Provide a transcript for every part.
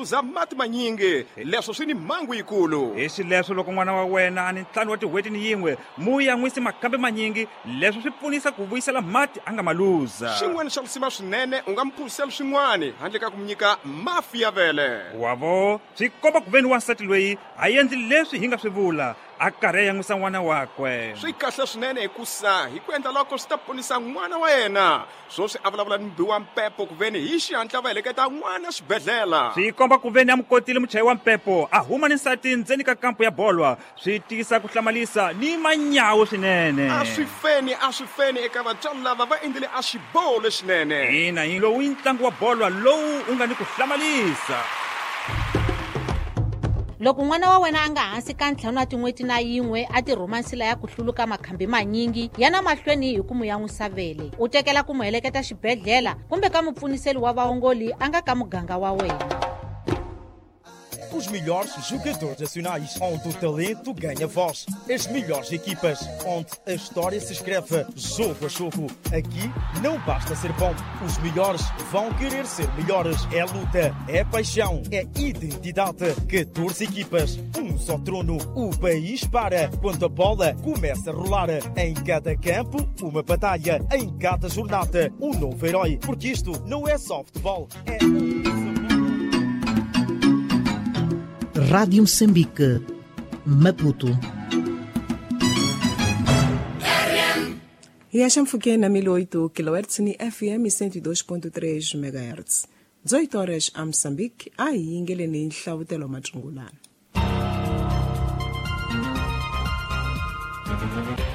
luza mati manyingi. Leswo swi ni mhangu yikulu. Hi xileswo loko n'wana wa wena a ni 5 wa tin'hweti ni yin'we, mu yan'wisi makhambi manyingi. Leswo swi pfunisa ku vuyisela mati a nga ma luza. Xin'wana xa lisima swinene, u nga mu phuzisela swin'wana handle ka ku mu nyika mafi ya vele. Wavo, swi komba ku veni wansati loyi a endli leswi hi nga swi vula, a karhi a yan'wisa n'wana wakwe. Swi kahle swinene hikusa hi ku endla loko swi ta ponisa n'wana wa yena. Swoswi a vulavula ni mubi wa mpepo ku veni hi xihatla va heleketa n'wana xibedhlele. Swi komba ku veni a mu kotile muchayi wa mpepo a huma ni nsati ndzeni ka kampu ya bolwa. Swi tisa ku hlamalisa ni manyawu swinene. A swi feni, a swi feni eka vatswari lava va endlile a xiboho lexinene. Ina, hi lowu i ntlangu wa bolwa lowu u nga ni ku hlamalisa. Loko n'wana wa wena a nga hansi ka 5 wa tin'hweti na yin'we a ti rhuma nsila ya ku hluluka makhambi manyingi, yana mahlweni hi ku mu yan'wisa vele. U tekela ku mu heleketa xibedhlele kumbe ka mupfuniseli wa vaongoli a nga ka muganga wa wena. Os melhores jogadores nacionais, onde o talento ganha voz. As melhores equipas, onde a história se escreve jogo a jogo. Aqui não basta ser bom, os melhores vão querer ser melhores. É luta, é paixão, é identidade. 14 equipas, um só trono. O país para quando a bola começa a rolar. Em cada campo, uma batalha. Em cada jornada, um novo herói. Porque isto não é só futebol, é... Rádio Moçambique, Maputo. E a Chanfuquena 1008 kHz ni FM 102.3 MHz. 18 horas a Moçambique, aí ingeleni nhlavutelo matsungulana.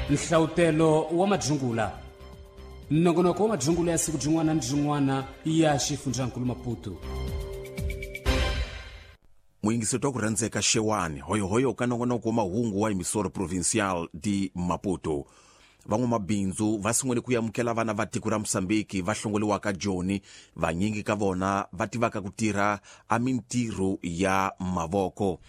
Nhlavutelo wa madzungula. Nongonoko wa madzungula ya siku byin'wana ni byin'wana ya xifundzankulu Maputo. Muyingiseti wa ku rhandzeka Xewani hoyohoyo ka nongonoko wa mahungu wa Emissora Provincial de Maputo. Van'wamabindzu va sungule ku amukela vana va tiko ra Mozambique va hlongoliwaka Joni, vanyingi ka vona va tivaka ku tirha a mintirho ya mavoko.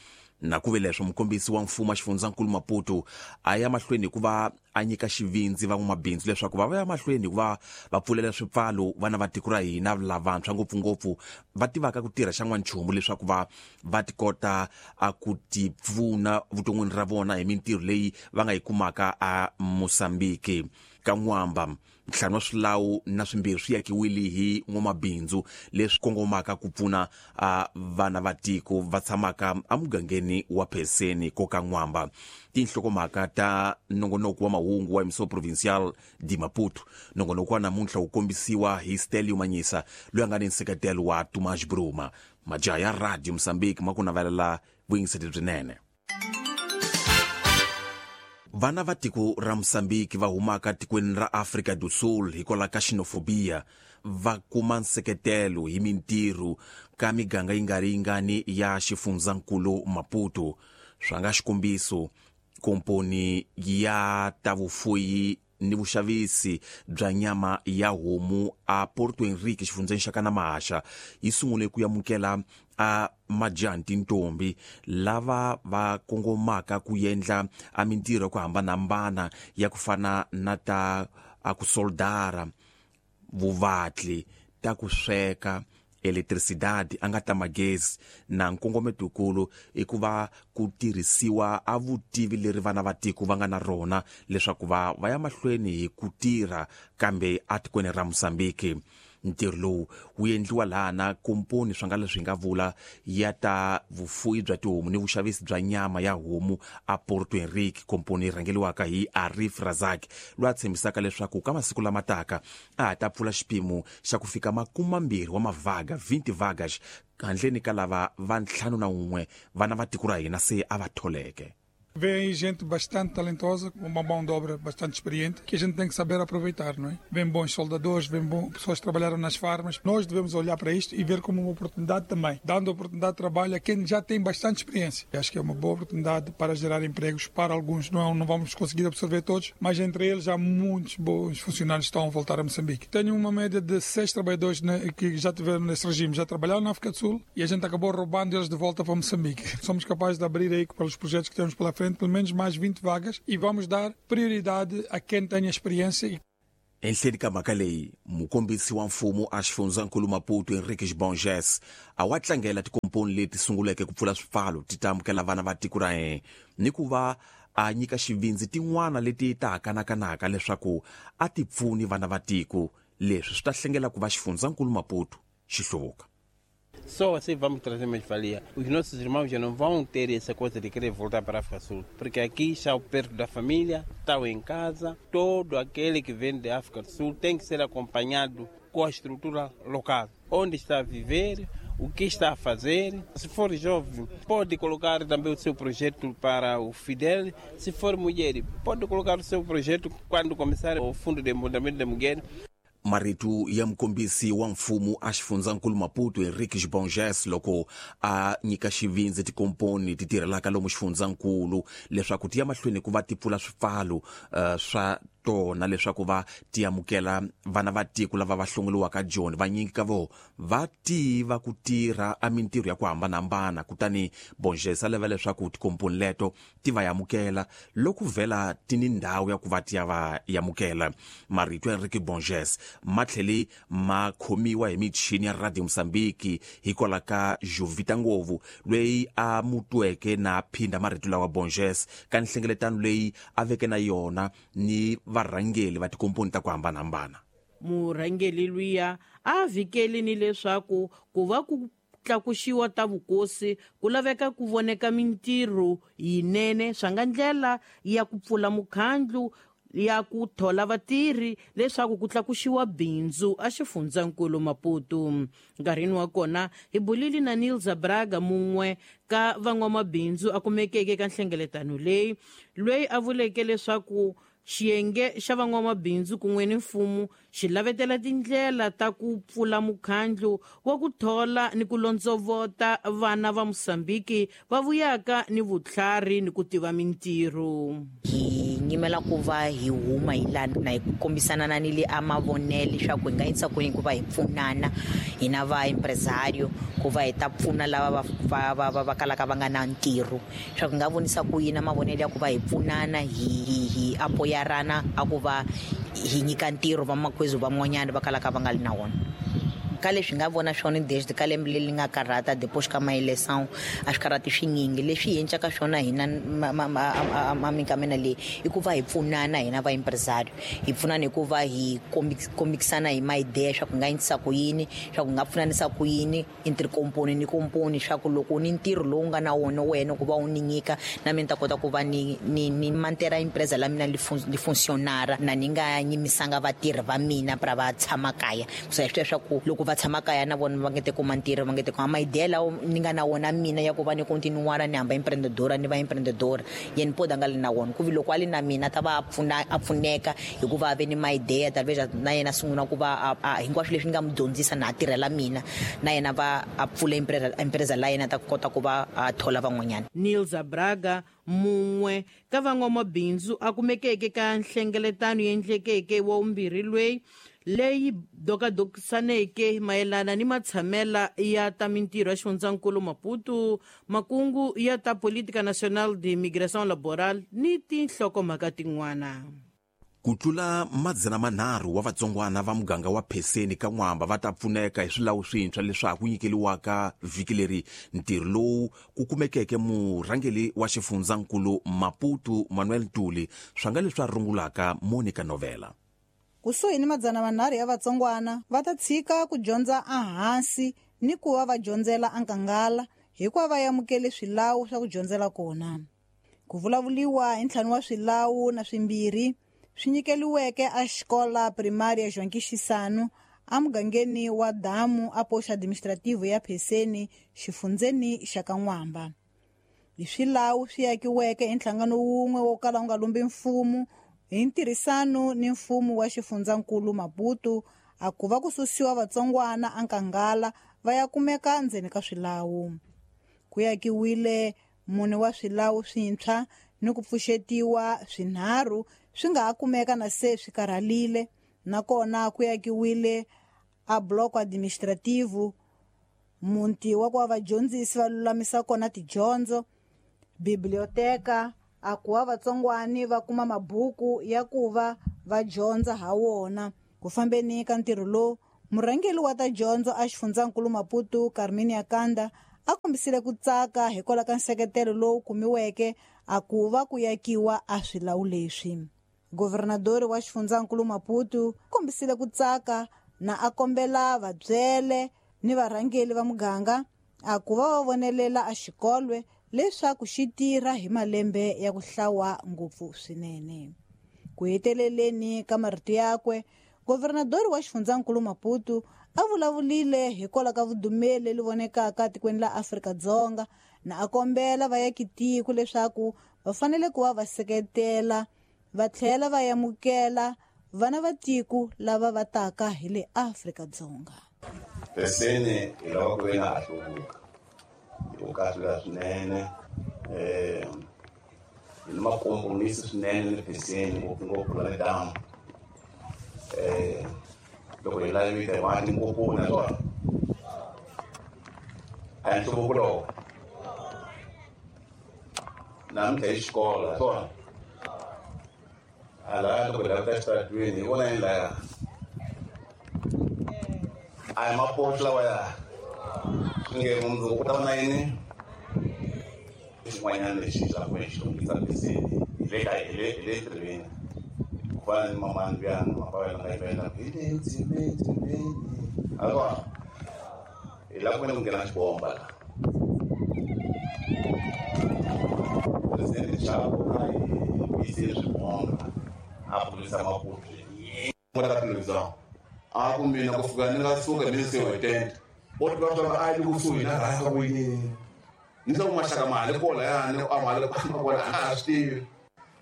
Na ku ve leswo mukombisi wa mfumo wa xifundzankulu Maputo a ya mahlweni hikuva a nyika xivindzi van'wamabindzu leswaku va ya mahlweni hikuva va pfulela swipfalo vana va tiko ra hina lavantshwa ngopfungopfu va tivaka ku tirha xa n'wanchumu leswaku va ti kota a ku ti pfuna vuton'wini ra vona hi mintirho leyi va nga yi kumaka a Mozambique. Ka N'wamba, ntlhanu wa swilawu na swimbirhi swi yakiwile hi n'wamabindzu leswi kongomaka ku pfuna vana va tiko va tshamaka emugangeni wa Pheseni ko ka N'wamba. Tinhlokomhaka ta nongonoko wa mahungu wa Emissora Provincial de Maputo. Nongonoko wa namuntlha wu kombisiwa hi Stelio Manyisa loyi a nga ni nseketelo wa Tomás Bruma. Majaha ya Radio Mozambique ma ku navelela vuyingiseri byinene. Vana va tiko ra Mozambique va humaka tikweni ra Afrika do Sul hikwalaho ka xenofobia va kuma nseketelo hi mintirho ka miganga yi nga ri yingani ya xifundzankulu Maputo. Swa nga xikombiso, komponi ya ta vufuyi ni vuxavisi bya nyama ya homu a Porto Henrique xifundzeni xa Kanamahasha yi sungule ku amukela a majaha ni tintombi lava va kongomaka ku endla a mintirho ya ku hambanahambana ya ku fana na ta a ku soldara, vuvatli, ta ku sweka, electricidade a nga ta magezi. Na nkongometokulu i ku va ku tirhisiwa a vutivi leri vana va tiko va nga na rona leswaku va ya mahlweni hi ku tirha kambe atikweni ra Mozambique. Ntirho lowu wu endliwa laha na komponi swa nga leswi nga vula ya ta vufuyi bya tihomu ni vuxavisi bya nyama ya homu a Porto Henrique, komponi yi rhangeliwaka hi Arif Razak loyi a tshembisaka leswaku ka masiku lama taka a ha ta pfula xipimo xa ku fika 20 wa mavaga, 20 vagas, handleni ka lava va 51 vana va tiko ra hina se a va tholeke. Vem aí gente bastante talentosa, com uma mão de obra bastante experiente, que a gente tem que saber aproveitar, não é? Vem bons soldadores, vem pessoas que trabalharam nas farmas. Nós devemos olhar para isto e ver como uma oportunidade também, dando oportunidade de trabalho a quem já tem bastante experiência. Acho que é uma boa oportunidade para gerar empregos para alguns. Não vamos conseguir absorver todos, mas entre eles há muitos bons funcionários que estão a voltar a Moçambique. Tenho uma média de 6 trabalhadores, né, que já tiveram nesse regime, já trabalharam na África do Sul e a gente acabou roubando eles de volta para Moçambique. Somos capazes de abrir aí, pelos projetos que temos pela frente, pelo menos mais 20 vagas e vamos dar prioridade a quem tem experiência. Enhleni ka mhaka leyi, mukombisi wa mfumo a xifundzankulu Maputo Henriques Bonges a wa tlangela tikomponi tikomponi leti sunguleke ku pfula swipfalo ti ta amukela vana va tiko ra yena ni ku va a nyika xivindzi tin'wana leti ta kanakanaka leswaku a ti pfuni vana va tiko. Leswi swi ta hlengela ku va xifundzankulu Maputo xi hluvuka. Só assim vamos trazer mais-valia. Os nossos irmãos já não vão ter essa coisa de querer voltar para a África Sul, porque aqui está perto da família, estão em casa. Todo aquele que vem da África do Sul tem que ser acompanhado com a estrutura local. Onde está a viver, o que está a fazer. Se for jovem, pode colocar também o seu projeto para o Fidel. Se for mulher, pode colocar o seu projeto quando começar o Fundo de Empoderamento da Mulher. Marito ya mukombisi wa mfumo a xifundzankulu Maputo Henrique Bonges loko a nyika xivindzi tikomponi ti tirhelaka lomu xifundzankulu leswaku ti ya mahlweni ku va ti pfula swipfalo swa tona leswaku va ti amukela vana va tiko lava va hlongoliwaka Joni. Vanyingi ka vo va tiva ku tirha a mintirho ya ku hambanahambana, kutani Bonges a lava leswaku tikomponi leto ti va amukela loko vhela ti ni ndhawu ya ku va ti ya va amukela. Marito ya Henrique Bonges ma tlhele ma khomiwa hi michini ya Radio Mozambique hikwalaho ka Jovita Ngovu loyi a mutweke na phinda marito lawa Bonges ka nhlengeletano leyi a veke na yona ni varhangeli va tikomponi ta ku hambanahambana. Murhangeli luya a vhikeli ni leswaku ku va ku tlakuxiwa ta vukosi ku laveka ku voneka mintirho yinene swa nga ndlela ya ku pfula mukhandlu ya ku thola vatirhi leswaku ku tlakuxiwa bindzu a xifundzankulu Maputo. Nkarhini wa kona hi bulile na Nilza Braga, mun'we ka van'wamabindzu a kumekeke ka nhlengeletano leyi, loyi a vuleke leswaku xiyenge xa van'wamabindzu kun'we ni mfumo xi lavetela tindlela ta ku pfula mukhandlu wa ku thola ni ku londzovota vana va Mozambique va vuyaka ni vutlhari ni ku tiva mintirho. Hi nyimela ku va hi huma hi lana na hi kombisana na ni le a mavonelo leswaku hi nga yisa kwini ku va hi pfunana hina va empresario ku va hi ta pfuna lava va kalaka va nga na ntirho, leswaku hi nga vonisa ku yini mavonelo ya ku va hi pfunana hi apoyarana a ku va hi nyika ntirho vamakwezu van'wanyana va kalaka va nga li na wona. Ka leswi nga vona swona desde ka lembe leri nga karhata depois ka maeleção a swi karhati swinyingi. Leswi hi endlaka swona hina minkamena leyi i ku va hi pfunana hina va empresario, hi pfunana hi ku va hi kombisana hi maideya swa ku nga endlisa ku yini, swa ku nga pfunanisa ku yini entre komponi ni komponi, swa ku loko ni ntirho lowu nga na wona wena ku va u ni nyika na mina ni ta kota ku va ni mantera empresa la mina li funcionara na ni nga nyimisanga vatirhi va mina pra va tshama kaya. Ku sa swi ku loko va tshama kaya na vona va nge te kuma ntirho, va nge te kuma maideya lawa ni nga na wona mina ya ku va ni continuara ni hamba empreendedora ni va empreendedora yena poda nga li na wona ku vi loko a li na mina ta va a pfuneka hikuva a ve ni maideya talvez na yena sungula ku va hinkwaswo leswi ni nga mu dyondzisa na a tirhela mina na yena va a pfula empresa la yena ta kota ku va a thola van'wanyana. Nilza Braga, mun'we ka van'wamabindzu a kumekeke ka nhlengeletano yendlekeke wa vumbirhi lweyi leyi dokadokisaneke mayelana ni matshamela ya ta mintirho ya xifundzankulu Maputo, makungu ya ta Política Nacional de Migração Laboral ni tinhlokomhaka tin'wana. Ku tlula 300 wa vatsongwana va muganga wa Pheseni ka N'wamba va ta pfuneka hi swilawu swintshwa leswaku nyikeliwaka vhiki leri. Ntirho lowu ku kumekeke murhangeli wa xifundzankulu Maputo Manuel Ntuli swa nga leswi a rungulaka Monica Novela. Kusuhi ni 300 ya vatsongwana va ta tshika ku dyondza ehansi ni ku va va dyondzela enkangala hikuva va amukele swilawu swa ku dyondzela kona. Ku vulavuliwa hi 5 wa swilawu na swimbirhi swi nyikeliweke a xikola primária João Quixisano emugangeni wa Damu a posto administrativo ya Pheseni xifundzeni xa ka N'wamba. Hi swilawu swi akiweke hi nhlangano wun'we wo kala wu nga lumbi mfumo hi ntirhisano ni mfumo wa xifundzankulu Maputo a ku va ku susiwa vatsongwana enkangala va ya kumeka ndzeni ka swilawu. Ku akiwile 4 wa swilawu swintshwa ni ku pfuxetiwa swinharhu swi nga ha kumeka na se swi karhalile, nakona ku akiwile a bloco administrativo muti wa ku va vadyondzisi va lulamisa kona tidyondzo, biblioteka a ku va vatsongwani va kuma mabuku ya ku va va dyondza ha wona. Ku fambeni ka ntirho lowu, murhangeri wa ta dyondzo a xifundzankulu Maputo Carminia Kanda a kombisile ku tsaka hikwalaho ka nseketelo lowu kumiweke a ku va ku yakiwa a swilawu leswi. Governadori wa xifundzankulu Maputo kombisile ku tsaka na a kombela vabyele ni varhangeli va muganga a ku va va vonelela a xikolwe leswaku xi tirha hi malembe ya ku hlawa ngopfu swinene. Ku heteleleni ka marito yakwe, governadori wa xifundzankulu Maputo a vulavulile hikwalaho ka vudumeli leri vonekaka tikweni la Afrika-Dzonga na a kombela vayakitiko leswaku va fanele ku va va seketela va tlhela va yamukela vana va tiko lava va taka hi le Afrika-Dzonga. Peseni hi lava ku ve na ha hluvuka hi ku kahlula swinene, hi ni makompromisi swinene le Peseni, ngopfungopfu la le damu. Loko hi lavita hi va tinkoponi naswona a hi nhluvuko lowo namuntlha hi xikolo naswona a laya loko hi lavita exitaratweni hi vona yini laya a hi mapoto lawa ya swi nge mundzuku ku ta va na yini xin'wanyana lexi xa ku xi hluvukisa Peseni hi le ka hi le hi le ntirhweni ku fana ni mamani luyani mapavela nga yimela hi le ndzimeni a hi lava ku veni ku nghena xibomba la presidente Chapo a hi vuyisile swibomba a pfurisa Maputo ka television a ku mina ku fika ni nga suka ni se weekend o tiva swa a yi kusuhi na rhanga ku yini ni swa ku maxaka mali kola yani a mali kola a swi tivi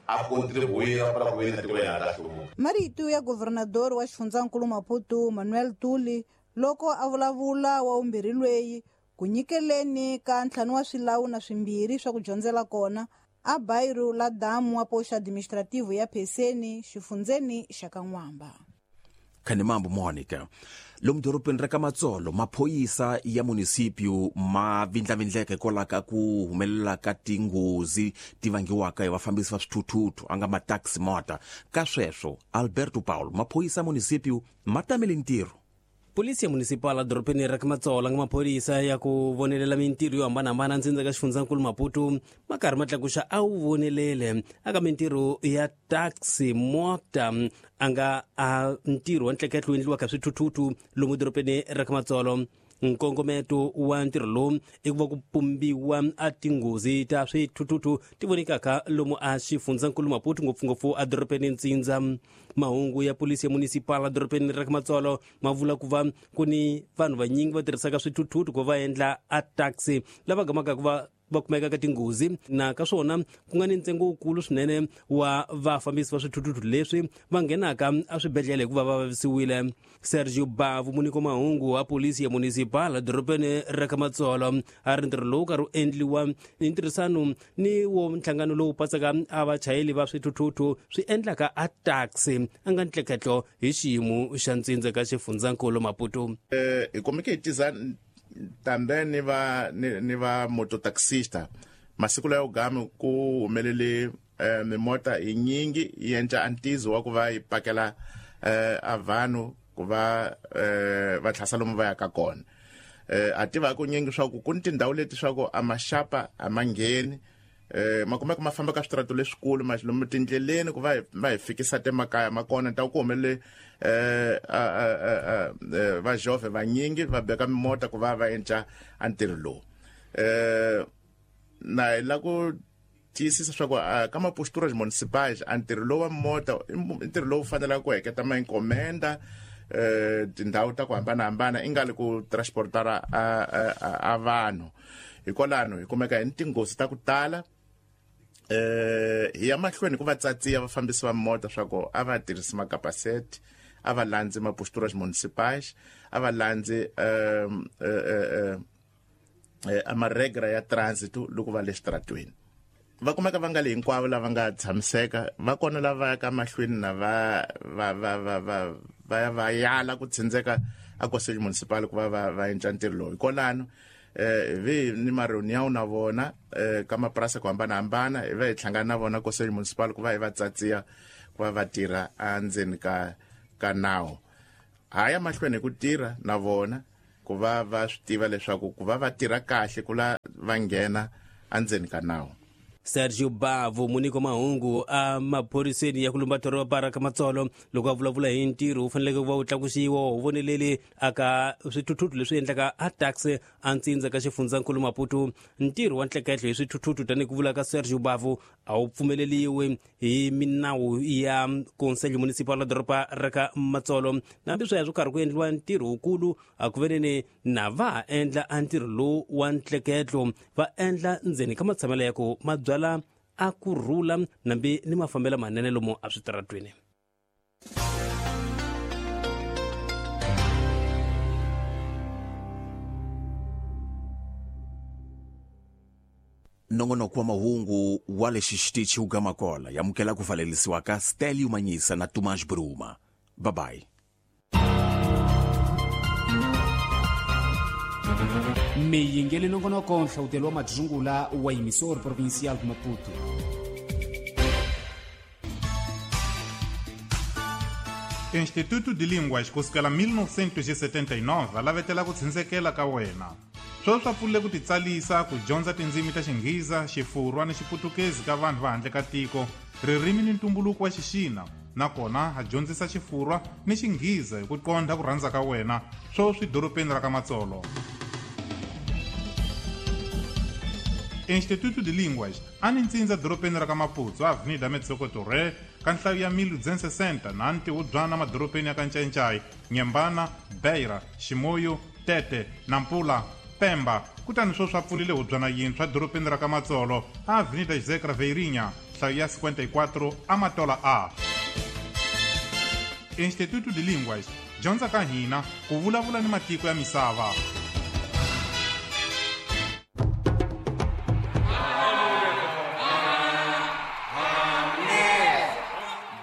a contribuir para ku veni tiko ya ta hluvuka. Marito ya governador wa xifundzankulu Maputo Manuel Tuli loko a vulavula wa umbirhi lweyi ku nyikeleni ka ntlhanu wa swilawu na swimbirhi swa ku dyondzela kona a bairro la damu wa poxa administrativo ya Peseni xifundzeni xa Kan'wamba. Khanimambo Monica lomu dorobeni ra ka Matsolo maphoyisa ya munisipio ma vindlavindleka hikwalaho ka ku humelela ka tinghozi ti vangiwaka hi vafambisi va swithuthuthu a nga ma-taxi mota. Ka sweswo Alberto Paulo maphoyisa ya munisipio ma tamele ntirho. Polisi municipal dorobeni ra ka Matsolo nga maphorisa ya ku vonelela mintirho yo hambanahambana ndzindza ka xifundzankulu Maputo ma karhi ma tlakuxa a wu vonelele aka mintirho ya taxi mota a nga a ntirho wa ntleketlo wu endliwaka swithuthuthu lomu dorobeni ra ka Matsolo. Nkongometo wa ntirho lowu i ku va ku pumbiwa a tinghozi ta swithuthuthu ti vonekaka lomu a xifundzankulu Maputo ngopfungopfu a dorobeni Ntsindza. Mahungu ya polisi ya municipal a dorobeni ra ka Matsolo ma vula ku va ku ni vanhu vanyingi va tirhisaka swithuthuthu ku va endla a taxi lava gamaka ku va va kumeka ka tinghozi na ka swona ku nga ni ntsengo wukulu swinene wa vafambisi va swithuthuthu leswi va nghenaka eswibedhlele hikuva va vavisiwile. Sergio Bavu muniko mahungu wa polisi ya municipal dorobeni ra ka Matsolo a ri ntirho lowu karhi wu endliwa hi ntirhisano ni wo nhlangano lowu patsaka a vachayeli va swithuthuthu swi endlaka a taxi a nga ntleketlo hi xiyimo xa ntsindza ka xifundzankulu Maputo. Hi kumeke hi tiza tambe ni va mototaxista masiku layo gami ku humelele mimota hi nyingi yi endla antizo wa ku va yi pakela a vanhu ku va va tlhasa lomu va yaka kona. A tiva ku nyingi swa ku ku ni tindhawu leti swa ku a maxapa a ma ngheni, ma kumeka ma famba ka switrato leswikulu ma lomu tindleleni ku va hi fikisa temakaya ma kona ta ku humelele va jove vanyingi va beka mimota ku va va endla a ntirho lowu. Na hi la ku tiyisisa swa ku ka maposturas municipais a ntirho lowu wa mota i ntirho lowu fanelaka ku heketa ma encomenda tindhawu ta ku hambanahambana i nga li ku transportara a vanhu. Hikwalano hi kumeka hi ni tinghozi ta ku tala. Hi ya mahlweni ku va tsatsiya vafambisi va mota swa ku a va tirhisi makapaseti, a va landzi maposturas municipais, a va landzi a maregra ya transit loko va le xitaratweni. Va kumeka va nga le hinkwavo lava nga tshamiseka, va kona lava yaka mahlweni na va va va va va va ya va yala ku tsindzeka a conselho municipal ku va va va endla ntirho lowu. Hikwalano vi ni mareunião na vona ka mapurasi ku hambanahambana, hi va hi hlangana na vona conselho municipal ku va hi va tsatsiya ku va va tirha endzeni ka nawu. Ha ya mahlweni hi ku tirha na vona ku va va swi tiva leswaku ku va va tirha kahle ku la va nghena endzeni ka nawu. Sergio Bavo, muniko mahungu a maphoriseni ya ku lumba doroba ra ka Matsolo, loko a vulavula hi ntirho wu faneleke ku va wu tlakusiwa wu voneleli aka swithuthuthu leswi endlaka a taxi a ntsindza ka xifundzankulu Maputo. Ntirho wa ntleketlo hi swithuthuthu, tanihi ku vula ka Sergio Bavo, a wu pfumeleliwi hi minawu ya Conselho Municipal la doroba ra ka Matsolo. Nambi sweswo karhi ku endliwa ntirho wukulu a ku veneni na va ha endla a ntirho lowu wa ntleketlo, va endla ndzeni ka matshamelo ya ku mabyala a ku rhula nambi ni mafambelo manene lomu a switaratweni. Nongonoko wa mahungu wa lexi xitichi wu gama kola yamukela ku valelisiwa ka Stelio Manyisa na Tomás Bruma. Bye bye. Miyingeli nongonoko nhlawutelo wa madzungula wa emissor provincial de Maputo. Instituto de Línguas kusukela 1979 va lavetela ku tshindzelekela ka wena. Sweswi swa pfulile ku titsalisa ku dyondza tindzimi ta Xinghiza, Xifurwa ni Xiputukezi ka vanhu va handle ka tiko, ririmi ni ntumbuluko wa Xixina, nakona a dyondzisa Xifurwa ni Xinghiza hi ku qondha ku rhandza ka wena, sweswi dorobeni ra ka Matsolo. Instituto de Línguas a ni ntsindza dorobeni ra ka Maputo, Avenida Metsoko Torre, ka nhlayo ya 1260 na ntiwubyana madorobeni ya ka Ncayincai, Nyembana, Beira, Ximoyo, Tete, Nampula, Pemba. Kutani sweswi a pfulile hubyana yintshwa dorobeni ra ka Matsolo, Avenida José Craveirinha, nhlayo ya 54 Amatola A. Instituto de Línguas, dyondza ka hina ku vulavula ni matiko ya misava.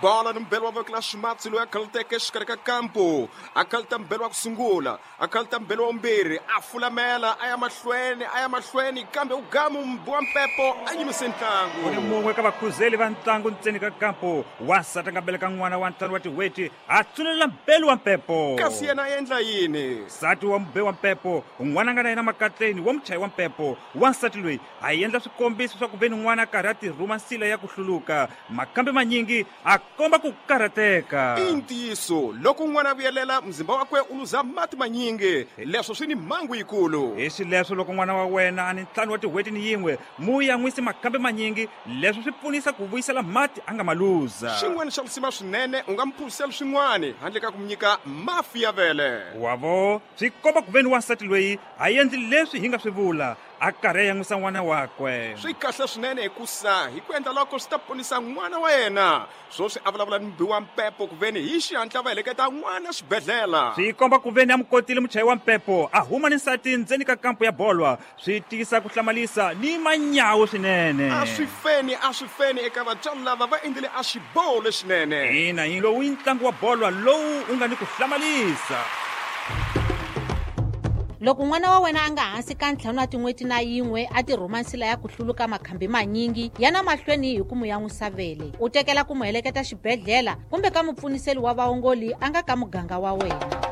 Bola ni mbelo wa voko la ximatsi loyi a khaluteke exikarhi ka kampo, a khaluta mbelo wa ku sungula, a khaluta mbelo wa vumbirhi, a fulamela a ya mahlweni, a ya mahlweni, kambe u gamu mbi wa mpepo a yimise ntlangu. U ni mun'we ka vakhuzeli va ntlangu ntseni ka kampo, wansati a nga beleka n'wana wa 5 wa tin'hweti, a tsunelela mbelo wa mpepo. Kasi yena a endla yini? Nsati wa mbe wa mpepo, n'wana a nga na yena makatleni wa muchayi wa mpepo, wansati loyi a endla swikombiso swa ku ve ni n'wana a karhi a tirhuma nsila ya ku hluluka, makambe manyingi a komba ku karhateka. I ntiyiso, loko n'wana a vuyelela muzimba wakwe u luza mati manyingi, leswo swi ni mhangu yikulu. Hi xileswo loko n'wana wa wena a ni 5 wa tin'hweti ni yin'we, mu yan'wisi makambe manyingi, leswo swi pfunisa ku vuyisela mati a nga ma luza. Xin'wana xa risima swinene, u nga mu phuzisela swin'wana handle ka ku mu nyika mafi ya vele. Wavo, swi komba ku ve ni wansati loyi a endli leswi hi nga swi vula, a karhi a yan'wisa n'wana wakwe. Swi kahle swinene hikusa hi ku endla loko swi ta ponisa n'wana wa yena. Sweswi a vulavula ni mbi wa mpepo ku veni hi xihatla va heleketa n'wana xibedhlele. Swi komba ku veni a mu kotile muchayi wa mpepo, a huma ni nsati ndzeni ka kampo ya bolwa, swi tiyisa ku hlamalisa ni manyawu swinene. A swi feni, a swi feni eka vatswari lava va endlile a xiboho lexinene. Ina, hi lowu i ntlangu wa bolwa lowu wu nga ni ku hlamalisa. Loko n'wana wa wena a nga hansi ka 5 wa tin'hweti na yin'we a tirhuma nsila ya ku hluluka makhambi manyingi, yana mahlweni hi ku mu yan'wisa vele, u tekela ku mu heleketa xibedhlele kumbe ka mupfuniseli wa vaongoli a nga ka muganga wa wena.